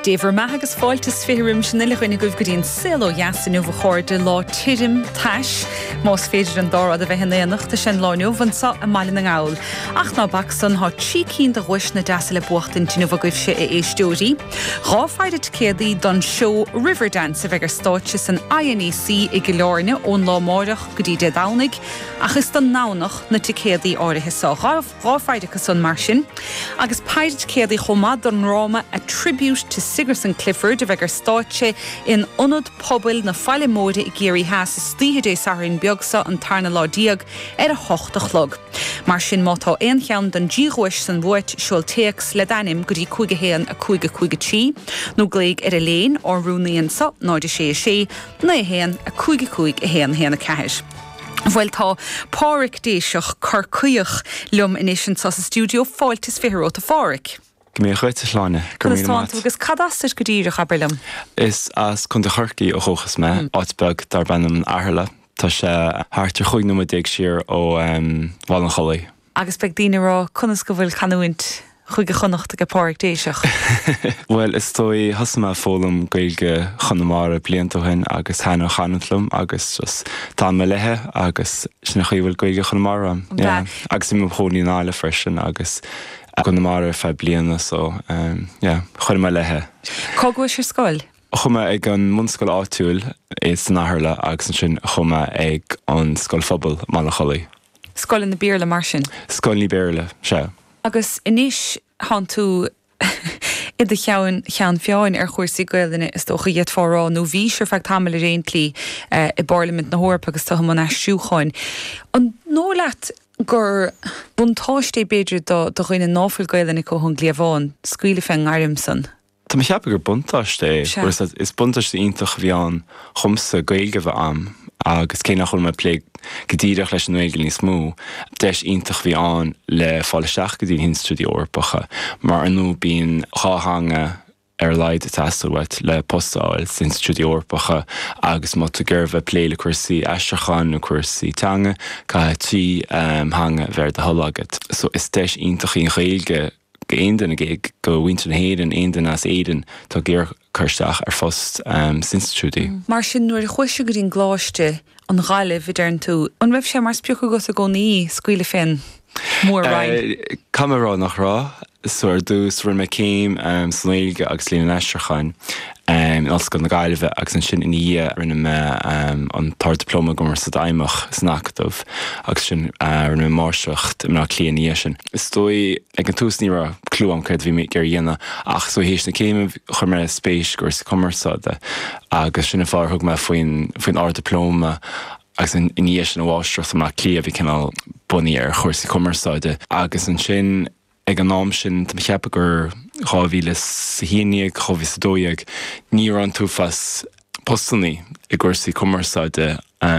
Dé bhur mbeatha agus fáilte is 20 roimis an uile dhuine agaibh go dtí an Saol Ó Dheas inniu a chairde, lá tirim tais, más féidir an dá rud a bheith in éineacht, is é an lá inniu anseo i mBaile na nGall. Ach ná bac san, thá trí cinn de dhuaiseanna deasa le buachtaint inniu agaibhse a éisteoirí. Dhá pheidhre ticéadaí don seó Riverdance a bheidh ar stáitse san INEC i gCill Airne ón lá amáireach go dtí Dé Domhnaigh, ach is don nDomhnach na ticéadaí áirithe so. Dhá pheidhre acu san mar sin, agus peidhre ticéadaí chomh maith don ndráma A Tribute to Sigerson Clifford a bheidh ar stáitse in Ionad Pobail na Faille Móire i gCiarraí Theas istoíche Dé Sathairn beag seo, an tarna lá déag, ar a hocht a chlog. Mar sin, má tá aon cheann den dtrí dhuais san uait, seol téacs le d'ainm go dtí 5 1 5 5 3, nó glaoigh ar Elaine, ár rúnaí anso, 0 6 6 9 1 5 5 1 1 4. Bhuel, tá Pádhraic Déiseach, Corcaíoch, liom anois anseo sa stiúideo. Fáilte is 20 romhat, a Phádhraic. Go mbeidh dhuit, a Shláine. Go raibh míle maith. Conas tánn tú agus cad as duit go díreach, abair liom? Is as Contae Chorcaí ó dhúchas mé, áit beag darb ainm an Athirle. Tá sé thart ar 15 nóiméad siar ó Bhaile an Chollaigh. Agus beidh daoine ag rá conas go bhfuil canúint Chúige Chonnacht aige Pádhraic Déiseach? Bhuel, is dóigh, thosaigh mé ag foghlaim Gaeilge Chonamara blianta ó shin agus thaitin an chanúint liom agus just d'fhan mé léithe agus sin an chaoi a bhfuil Gaeilge Chonamara agam. Yeah. Agus bhí mé i mo chónaí i nGaillimh freisin agus i gConamara ar feadh bliana so yeah, chuir mé léithe. Cá gcuais ar scoil? Chuaigh mé ag an mbunscoil áitiúil san Athirle agus ansin chuaigh mé ag an scoil phobail i mBaile an Chollaigh. Scoileanna Béarla mar sin? Scoileanna Béarla, sea. Agus anois thánn tú i do cheann cheann feadhain ar chúrsaí Gaelainne is dócha, d'fhéadfá a rá, nó bhís ar feadh tamaill ar aon tslí i bParlaimint na hEorpa agus tú i mbun aistriúcháin. An dóigh leat gur buntáiste é b'fhéidir do dhuine ná fuil Gaelainn acu ón gcliabhán scaoileadh fén ngairm san? Tá mé ag ceapadh gur buntáiste é. Sea. Is buntáiste iontach a bhí ann dhomsa Gaeilge a bheith a'm agus cé nach bhfuil mé ag plé go díreach leis an nGaeilge níos mó, deis iontach a bhí ann le fáil isteach go dtí na hinstitiúidí Eorpacha mar ar ndóigh bíonn dhá theanga ar a laghad ag teastáil uait le post a fháil sna hinstitiúidí Eorpacha agus má tá tú ag iarraidh bheith ag plé le cúrsaí aistriúcháin nó cúrsaí teanga, caithfidh trí theanga a bheith ar do thoil agat. So is deis iontach í an Ghaeilge go aon duine, go mhuintir na hÉireann, aon duine as Éirinn atá ag iarraidh cur isteach ar phost sna hinstitiúidí. Mar sin, nuair a chuais go dtí an gcoláiste, an Ghaillimh, a deireann tú, an raibh sé mar sprioc agat i gcónaí scaoileadh fén mór-roinn? Caithfidh mé a rá nach raibh. So ar dtús rinne mé céim sa nGaeilge agus Léann an Aistriúcháin in Ollscoil na Gaillimhe agus ansin ina dhiaidh rinne mé an tArd-Dioplóma i gCumarsáid Fheidhmeach san Acadamh agus ansin rinne mé Máistreacht i mBaile Átha Cliath ina dhiaidh sin. Is dóigh, ag an tús ní raibh clue agam céard a bhí mé ag iarraidh a dhéanamh ach so théis na céime chuir mé spéis i gcúrsaí cumarsáide agus sin an fáth ar thug mé faoin faoin Ard-Dioplóma agus ina dhiaidh sin an Mháistreacht i mBaile Átha Cliath a bhí cineál bunaithe ar chúrsaí cumarsáide agus ansin ag an am sin, tá mé ag ceapadh gur 2011, 2012, ní raibh an t-uafás postannaí i gcúrsaí cumarsáide.